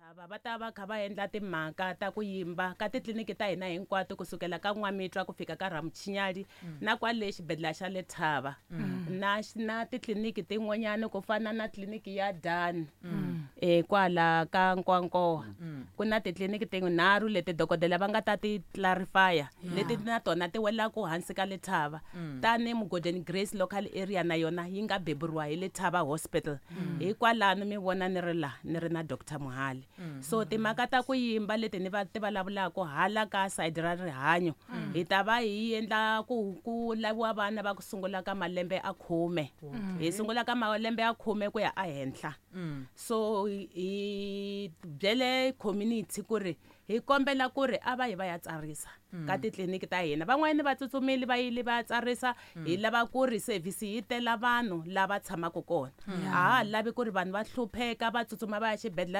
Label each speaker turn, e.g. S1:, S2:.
S1: Lava va ta va kha va endla timhaka ta ku yimba ka titliliniki ta hina hinkwato kusukela ka N'wamitwa ku fika ka Ramutshinyali na kwale xibedhlele xa Lethaba na na titliliniki tin'wanyana ku fana na tliliniki ya Dan kwala ka Nkwankowa. Ku na titliliniki tinharhu leti dokodela va nga ta ti clarify leti na tona ti welaku hansi ka Lethaba. Tani Mugodeni Grace local area na yona yi nga beburiwa hi Lethaba Hospital. Hikwalano mi vona ni ri la ni ri na Dr Mohale. So timhaka ta ku yimba leti ni va ti vulavulaka hala ka side ra rihanyo, hi ta va hi endla ku laviwa vana va ku sungula ka malembe a 10, hi sungula ka malembe a 10 ku ya ehenhla. So hi byele community ku ri hi kombela ku ri a va yi va ya tsarisa ka titliliniki ta hina. Van'wanyana va tsutsumile va yile va ya tsarisa. Hi lava ku ri service yi tela vanhu lava tshamaka kona, a ha lavi ku ri vanhu va hlupheka va tsutsuma va ya xibedhlele.